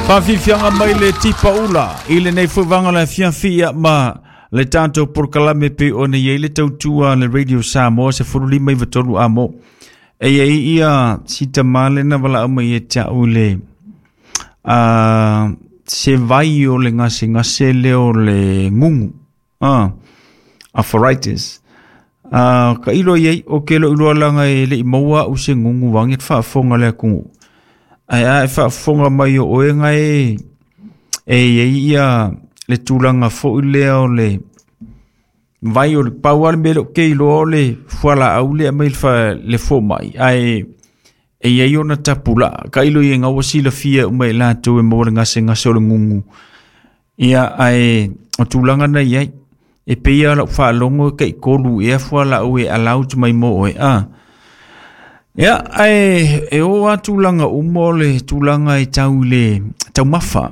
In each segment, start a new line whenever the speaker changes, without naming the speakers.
Faafiafiaga mai le tipa ula i lenei foi vaega o le afiafi ia ma le tatou polokalame pei ona i ai le tautua a le Radio Samoa 15 93 amo. E i ai ia si tamā lena valaau mai ia te au i le se vai o le gasegase lea o le gugu. Arthritis. Ka ilo i ai, o ke loʻu iloa laga e le i maua au se gugu vaeane le faafofoga a le atunuu. Ae a e faafofoga mai o oe ga e e i ai ia le tulaga foi lea o le vai o le pau lava le mea lea ou te iloa o le fualaau lea e aumai le fomai ae e i ai ona tapulaa. Tailo i ai ga ua silafia uma e latou e maua le gasegase o le gugu. Ia ae o tulaga na i ai. E pei lava o lau faalogo e tai tolu ea fualaau e allowed mai mo oe a. Ia ae e oo lava tulaga uma o le tulaga e tau i le taumafa.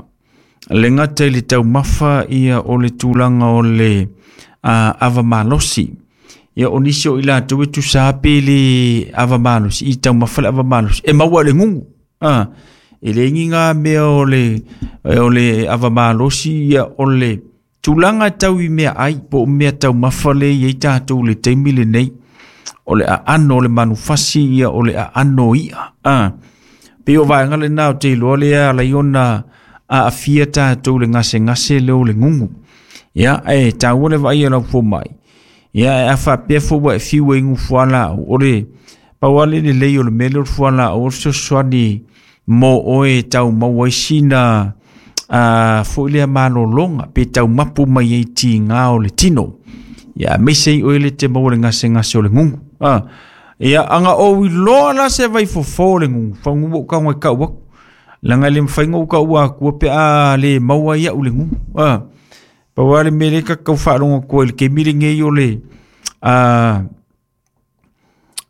Le gata i le taumafa ia o le tulaga o le ava malosi. Ia o nisi o i latou e tusa pe le ava malosi i taumafa le ava malosi e maua i le gugu. A, e leai ni ngā mea o le, o le ava malosi ia o le tulaga e tau i mea ai po o mea taumafa le i ai tatou i le taimi lenei. O le aano o le manufasi ia o le aano o i'a. A, pei o vaega lena ou te iloa lea e ala ai ona aafia tatou i le gasegase lea o le gugu. Ia, e taua le vaai a lau fomai. Ia, ae a faapea foi ua e fiu e inu fualaau, o le pau lava le lelei o le mea lea o le fualaau o le fesoasoani mo oe e tau maua ai sina foi lea malologa pe tau mapu mai ai tiga o le tino. Ia, aemaise ai oe le te maua le gasegase o le gugu. Ia, aga ou iloa la se vaifofo o le gugu, fagu ua ou tago e tau atu. Leaga e le mafai ona ou taua atua pe a le maua ai au le gugu. Pau lava le mea lea ta te tau faalogo atu ai i le taimi lenei o le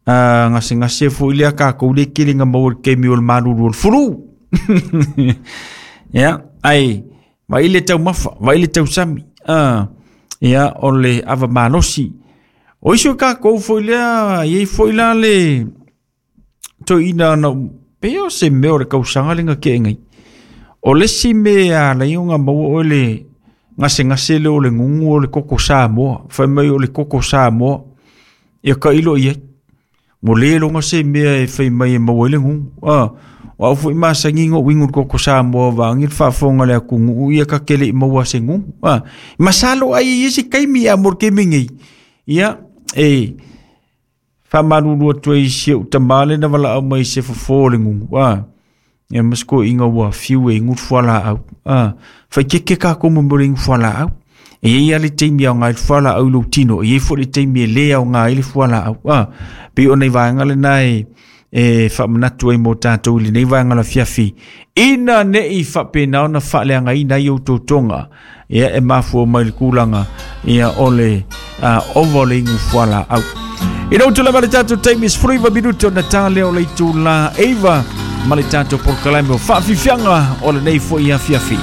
gasegase foi lea a tatou lea e tele ina maua i le taimi o le malulu o le flu. Ia, ae vaai le taumafa, vaai le tausami, ia, o le ava malosi. O isi o tatou foi lea, e i ai foi la le toeaina na pei o se mea o le tausaga lea na tea nei. O le isi mea e ala ai ona maua oe le gasegase lea o le gugu o le koko Samoa. Fai mai o le koko Samoa. Ia tailo i ai. Ua le iloga se mea e fai mai e maua ai le gugu. O au foi masani ona ou inu i le koko Samoa vaeane le faafofoga a le atunuu ia ta te le i maua se gugu. Masalo ai e i ai se taimi a mo le taimi nei. Ia, e faamalulu atu ai i si ou tama lea na valaau mai i se fofo o le gugu. Ia ma si toeaina ua fiu e inu le fualaau. Faitete tatou ma mea o le inu fualaau. E i ai lava le taimi e aoga ai le fualaau i lou tino, e i ai foi le taimi e le aoga ai le fualaau. Pei o nai vaega lena e e faamanatu ai mo tatou i lenei vaega o le afiafi, ina ne i faapena ona faaleagaina ai outou toga, ia e mafua mai le tulaga ia o le ova o le inu fualaau. Ina ua tulai mai le tatou taimi 19 minute ona ta lea o le itula 9 ma le tatou polokalame o Faafiafiaga o lenei foi afiafi.